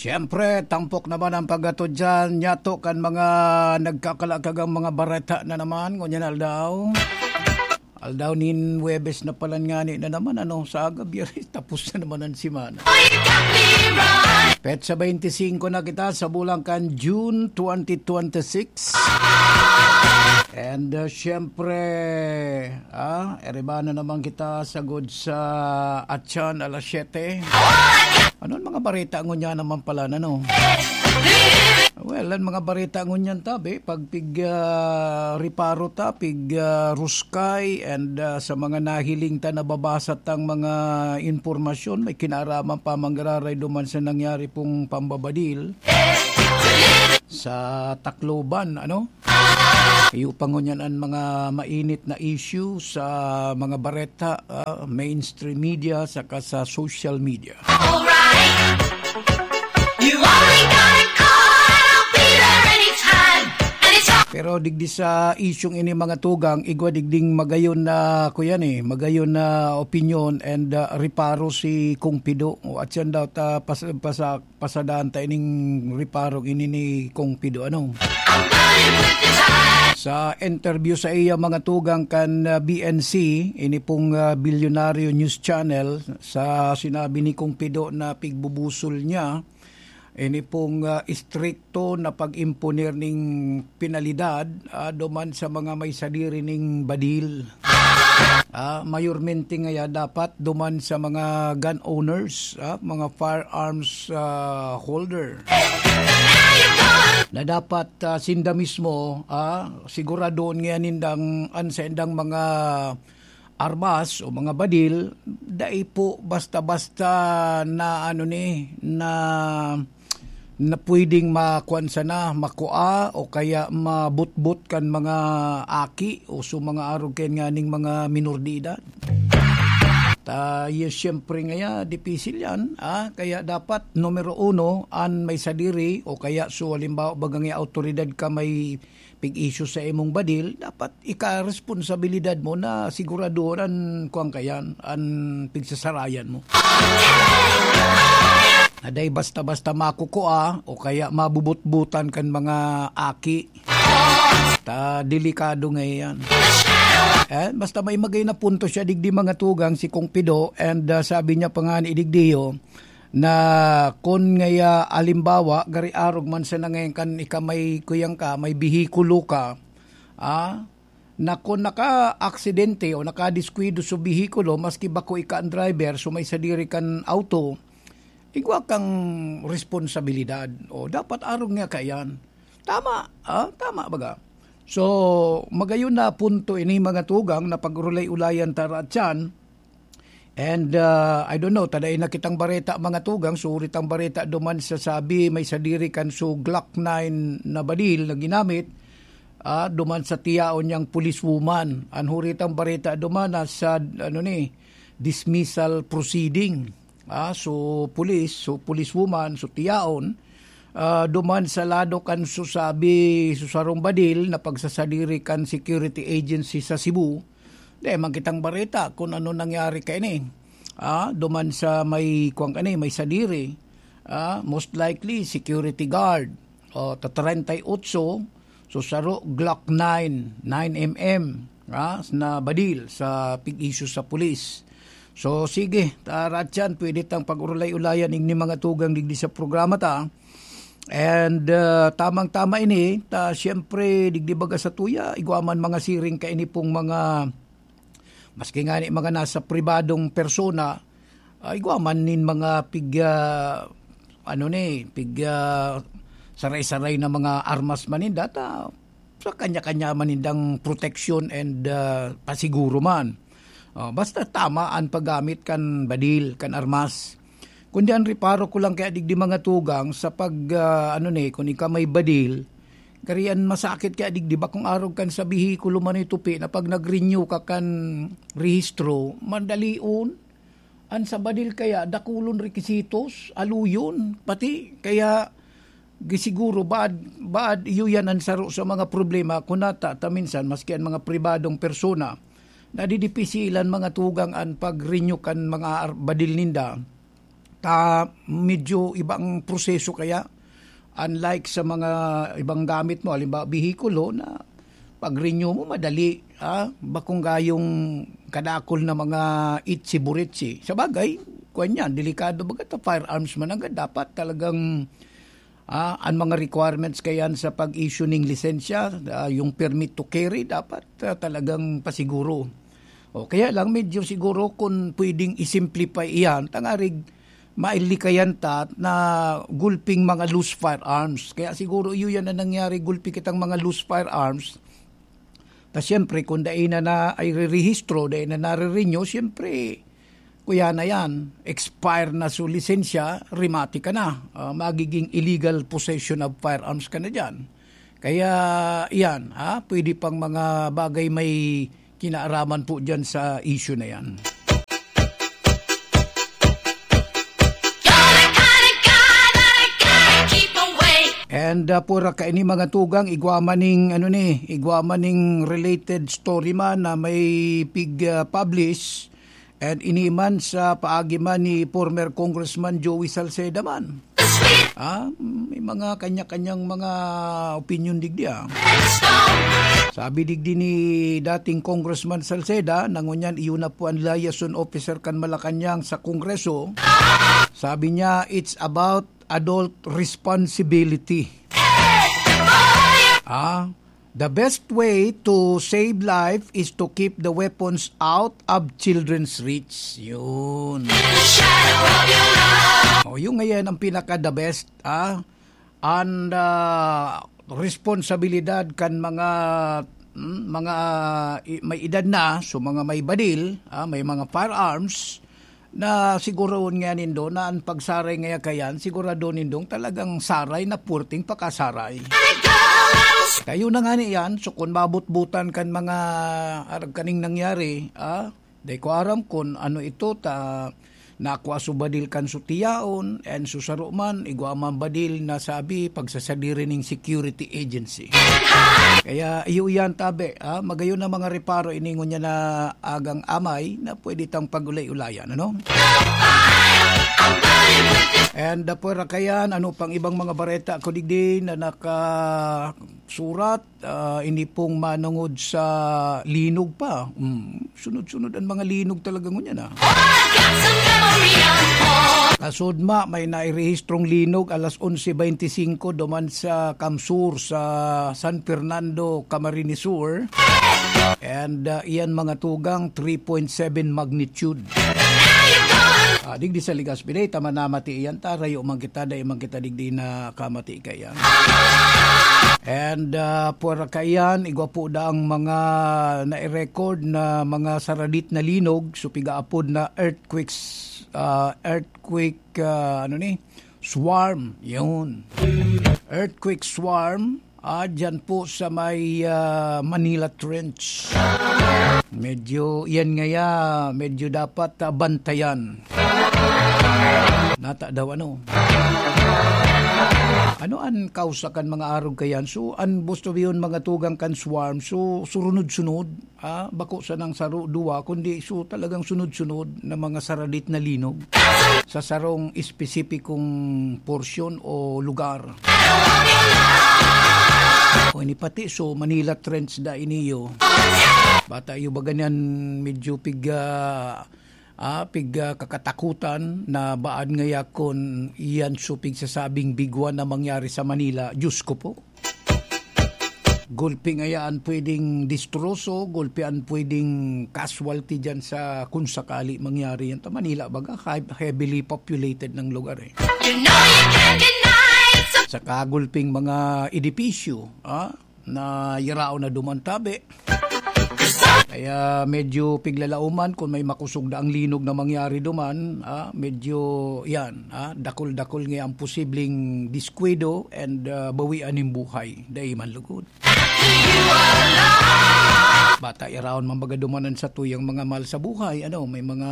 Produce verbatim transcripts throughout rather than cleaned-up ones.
Siyempre, tampok naman ang paghatod dyan, nyato kan mga nagkakalakagang mga bareta na naman, ngunyan aldaw. Aldaw nin Huwebes na palan ngani na naman, ano, sa aga, Biyernes, tapos na naman ang semana. Petsa twenty-five na kita sa bulan kan June twenty twenty-six. And, uh, siyempre, ah, eriba na naman kita sagod sa Atyan alas siyete. Ano ang mga bareta ngunyan naman pala, ano? Well, ang mga bareta ngunyan tabi, pag pig, ah, reparo ta, pig, ah, ruskay, and, ah, sa mga nahiling ta, nababasa tang mga impormasyon, may kinaraman pa manggararay duman sa nangyari pong pambabadil sa Tacloban, ano? Iyo pa ngunyan ang mga mainit na issue sa mga bareta, ah, mainstream media, saka sa social media. Alright. You only gotta call, I'll be there anytime. And it's all Pero digdi sa isyung ini, mga tugang, igwa digding magayon na, kuyan eh, magayon na opinyon and, ah, reparo si Kong Pido. O, at siyan daw ta pas-, pasa-, pasadaan ta ining reparong ini ni Kong Pido, ano? Sa interview sa iya, mga tugang, kan, ah, B N C, ini pong, ah, Bilyonaryo News Channel, sa sinabi ni Kong Pido na pigbubusol niya, ini pong, ah, istrikto na pag-imponer ning penalidad, ah, duman sa mga may sadiri ning badil. Ah, mayormente ngaya dapat duman sa mga gun owners, ah, mga firearms, ah, holder. Na dapat, ah, sinda mismo, ah, siguradoon ngaya nindang an saindang mga armas o mga badil, dai po basta-basta na ano ni, na na pwedeng makuan sana, makua o kaya mabutbot kan mga aki o so mga arog kayan nganing mga minor de edad. Ta, yes, siyempre ngaya, dipisil yan, ah. Kaya dapat, numero uno, an may sadiri o kaya so, halimbawa, baga nga awtoridad ka may pig-issue sa imong badil, dapat ikaresponsabilidad mo na siguradoon an kuwan ka yan, an pigsasarayan mo. Na dai basta-basta makukua o kaya mabubutbutan kan mga aki. Ta, delikado nga yan. Eh, basta may magay na punto siya digdi, mga tugang, si Kong Pido, and, ah, sabi niya pa nga ni digdiyo, na kun ngaya, alimbawa, gari arog man sana ngayon kan ika may kuyang ka, may bihikulo ka, ah, na kun naka-aksidente o nakadiskuido sa bihikulo, maski bako ika ang driver, so may sadiri kan auto, igwa kang responsabilidad. O, dapat arog nga kaiyan. Tama, ah, tama baga. So, magayon na punto ini, mga tugang, na pag-urulay-ulayan ta raatyan. And, ah, I don't know, ta dai na kitang bareta, mga tugang, so huri tang bareta duman sa sabi, may sadiri kan so Glock nine na badil na ginamit, ah, duman sa tiyaon niyang policewoman. An huri tang bareta duman na sa, ano ni, dismissal proceeding. Ah, so police, so policewoman, so tiyaon, ah, duman sa lado kan so sabi, so sarong badil na pagsasadiri kan security agency sa Cebu, Dai man kitang bareta kun ano nangyari kaini. Ah, duman sa may, kuwan kani, may sadiri. Ah, most likely, security guard. O, ta treinta y ocho, so saro, Glock nine, nine M M, ah, na badil sa pig-issue sa pulis. So, sige, ta, Ratchan, pwede tang pag-urulay-ulayan igni mga tugang digdi sa programa ta. And, ah, tamang-tama ini, ta siyempre, digdi baga sa tuya, igwa man mga siring kaini pong mga, maski ngani mga nasa pribadong persona, ah, igwa man nin mga pig, ah, ano ni, pig, ah, saray-saray na mga armas man ninda, ta sa kanya-kanya man nindang proteksyon and, ah, pasiguro man. Oh, basta tama an paggamit kan badil, kan armas. Kundi an reparo ko lang kaya digdi mga tugang sa pag, ah, ano ni, kun ika may badil, kariyan masakit kaya digdi bakong arog kan sa bihikulo man itupi na pag nag-renew ka kan rehistro, madalion. An sa badil kaya, dakulon rekisitos, aluyon, pati kaya gisiguro baad, baad iyo yan an saro sa mga problema kun nata ta minsan maski an mga pribadong persona, nadidipisilan mga tugang an pag-renew kan mga ar-, badil ninda. Ah, medyo ibang proseso kaya, unlike sa mga ibang gamit mo, halimbawa, behikulo na pag-renew mo madali, ah, bakong gayong kadakol na mga itsi-buritsi. Sabagay, kuwan yan, delikado baga ta firearms man agad, dapat talagang, ah, ang mga requirements kayan sa pag-issue ning lisensya, ah, yung permit to carry, dapat, ah, talagang pasiguro. O, kaya lang medyo siguro kung pwedeng i-simplify iyan, tangarig mailikayan ta na gulping mga loose firearms. Kaya siguro iyo yan ang nangyari, gulpi kitang mga loose firearms. Ta siyempre, kung dai na, na ay rerehistro, dai na nare-renew, siyempre, kuya na yan, expire na so lisensya, rimati ka na. Ah, magiging illegal possession of firearms ka na dyan. Kaya, iyan, ha, pwede pang mga bagay may kinaaraman po dyan sa issue na yan. And, uh, pura kaini mga tugang, igwa man ning, ano ni, igwa man ning related story man na may pig, uh, publish, and ini man sa paagi man ni former Congressman Joey Salceda man. Ah, may mga kanya-kanyang mga opinyon digdi, ah. Sabi digdi ni dating Congressman Salceda, na ngunyan iyo na po ang liaison officer kan Malacañang sa Kongreso. Sabi niya, "It's about adult responsibility." Ah, "The best way to save life is to keep the weapons out of children's reach." Yun. O, yung ngayon ang pinaka the best, ah. And, ah, responsibilidad kan mga, mm, mga i-, may edad na, so mga may badil, ah, may mga firearms, na siguroon nga nindo na an pagsaray ngaya kayan, sigurado nindong talagang saray na puwerteng pakasaray. Kayo na nga niyan, so kun mabutbutan kan mga arag kaning nangyari, ah, dai ko aram kun ano ito, ta nakua so badil kan so tiyaon, and so saro man, igwa man badil na sabi, pagsasadiri ning security agency. Kaya iyo yan, tabi, ah, magayon na mga reparo ini ngunyan na agang amay na pwede tang pag-ulay-ulayan, ano? And, uh, pwera kayan, ano pang ibang mga bareta ko digdi na nakasurat, ah, ini pong manungod sa linog pa. Hmm, sunod-sunod ang mga linog talaga ngunyan, ah. Kasudma, may nairehistrong linog alas onse beintisinko duman sa Kamsur, sa San Fernando, Camarines Sur. And, uh, iyan mga tugang, three point seven magnitude. Ah, digdi sa Legazpi, dai ta man namati iyan, ta rayo man kita, dai man kita digdi nakamati kaiyan. And, uh, pwera kaiyan, igwa po daang mga nai-record na mga saradit na linog, so pigaapod na earthquakes, uh, earthquake, uh, ano ni, swarm, yun. Earthquake swarm, ah, dyan po sa may, ah, Manila Trench. Medyo, yan ngaya, medyo dapat, ah, bantayan. Nata daw, ano? Ano an kausa kan mga arog kayan? So, an gusto yun, mga tugang kan swarm. So, surunod-sunod. Ah, bako sanang saro, duwa, kundi so talagang sunod-sunod na mga saradit na linog sa sarong espesipikong porsyon o lugar. O ini pati, so Manila Trench da iniyo. Bata iyo ba ganyan medyo pig, ah, ah, pig, ah, kakatakutan na baan ngaya kun iyan so pigsasabing bigwa na mangyari sa Manila? Diyos ko po. Gulpi ngaya an pwedeng distroso, gulpi an pwedeng casualty diyan sa kung sakali mangyari yan. Ta Manila, baga, high-, heavily populated ng lugar, eh. You know you can't deny it. Saka gulping mga edipisyo, ah, na yaraon na duman tabi. Kaya medyo piglalauman kung may makusog na ang linog na mangyari duman, ah, medyo yan, ah, dakul-dakul nga ang posibleng diskuido and, ah, bawian nin buhay. Dai man lugod. Bata, iraon man baga duman an satuyang mga mahal sa buhay. Ano, may mga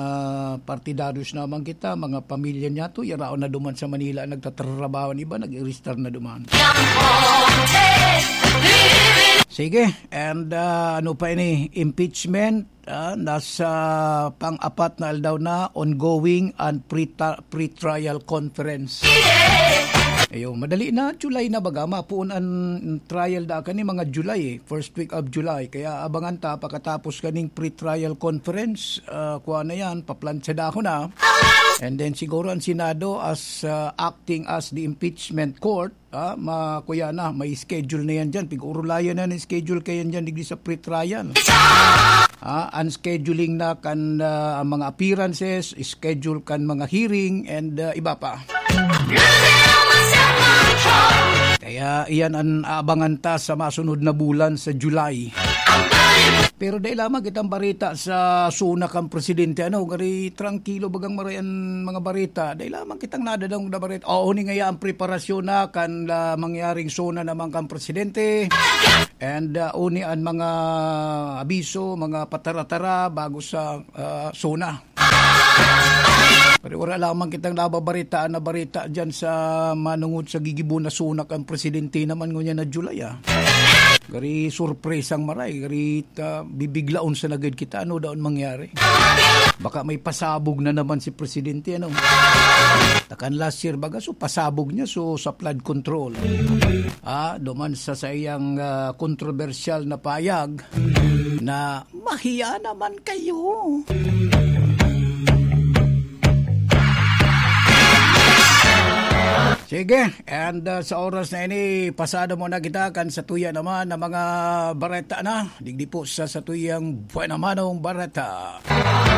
partidaryos naman kita, mga pamilya niya to, iraon na duman sa Manila, nagtatrabaho, an iba, nag-iristar na duman. Sige, and, ah, ano pa ini? Impeachment, ah, nasa pang-apat na aldaw na, ongoing and pre-, pre-trial conference. Ayun, madali na, July na baga, mapuon an trial da kani mga July eh, first week of July. Kaya abangan ta pakatapos kaning pre-trial conference, ah, kuha na yan, paplantsa da ako na. And then siguro ang Senado as, ah, acting as the impeachment court, ah, ma-, kuya na, may schedule na yan dyan. Pig-urulayan na ng schedule kayan dyan, digdi sa pre-trial. Ah, ang scheduling na kan, ah, ang mga appearances, schedule kan mga hearing, and, ah, iba pa. Kaya iyan ang aabangan ta sa masunod na bulan sa July. Pero dai lamang kitang bareta sa SONA kan presidente, ano, gari trangkilo bagang maray an mga bareta. Dai lamang kitang nadadangog na bareta. Oo, ni ngaya ang preparasyon na kan, ah, mangyaring SONA naman kan presidente. And, ah, uni an mga abiso, mga patara-tara bago sa, ah, SONA. Pero wala lamang kitang nababaritaan na bareta dyan sa manungod sa gigibo na SONA kan presidente naman ngunyan na July, ah. Gari surpresang maray, gari ta-, bibiglaon sa nagid kita, ano daon mangyari? Baka may pasabog na naman si presidente, ano? Takan last year, baga, so pasabog niya, so sa flood control. Ah, duman sa saiyang, ah, kontrobersyal na payag na mahiya naman kayo. Sige, and, uh, sa oras na ini, pasado mo na kita kan sa tuya naman na mga bareta na. Digdi po sa, sa tuyang buwan namanong bareta.